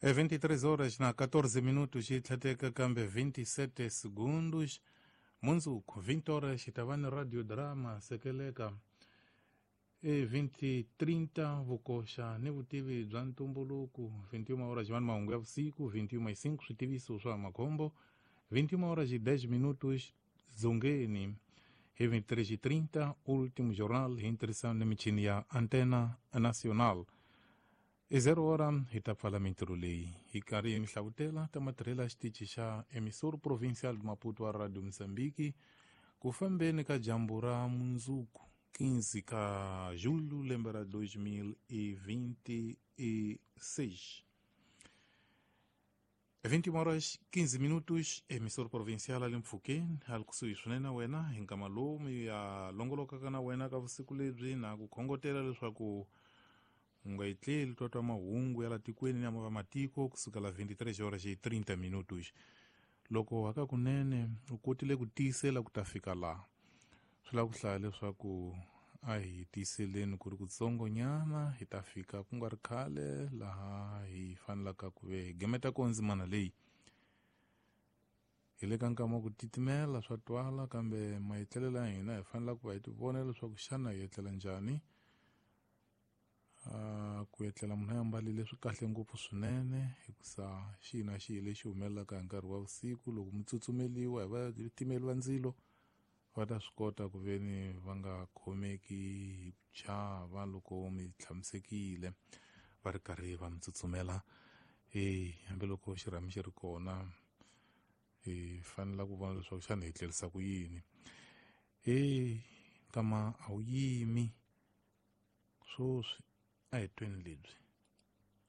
É 23 horas na 14 minutos yi tlheteka kambe 27 segundos. Mundzuku 20 horas hi ta va ni radio drama sekeleka. E 20:30 vukoxa ni vutivi bya ntumbuluko. 21 horas va ni mahungu ya vusiku. 21:05 switiviso swa makhombo. 21 horas e 10 minutos dzongeni. Hi 23:30 último jornal hi ntirhisano ni michini ya Antena Nacional. I 0 hora hi ta pfala mintirho leyi hi karhi hi mi hlavutela ta matirhelo ya xitichi xa Emissor Provincial de Maputo wa Radio Mozambique ku fambeni ka dyambu ra mundzuku 15 ka julho lembe ra 2026. 21 horas 15 minutos, Emissor Provincial ali mpfhukeni ali kusuhi swinene na wena hi nkama lowu mi ya longolokaka na wena ka vusiku lebyi na ku khongotela leswaku u nga etleli twa twa mahungu ya la tikweni na va matiko kusukela 23 horas e 30 minutos. Loko hakakunene u kotile ku tiyisela ku ta fika laha, swi lava ku hlaya leswaku a hi tiyiseleni ku ri kutsongonyana hi ta fika ku nga ri khale laha hi fanelaka ku ve hi gemeta ko ndzimana leyi. Hi le ka nkama wa ku titimela swa twala, kambe maetlelelo ya hina hi fanela ku va hi tivona leswaku xana hi etlela njhani. Ku etlela munhu a ambarile swi kahle ngopfu swinene, hikusa xihi na xihi lexi humelelaka hi nkarhi wa vusiku loko mi tsutsumeliwa hi vatimeli va ndzilo va ta swi kota ku ve ni va nga khomeki hi ku chava loko mi tshamisekile va ri karhi va mi tsutsumela. E hambiloko xirhami xi ri kona hi fanela ku vona leswaku xana hi tlerisa ku yini. E nkama a wu yimi swoswi, a hi tweni lebyi.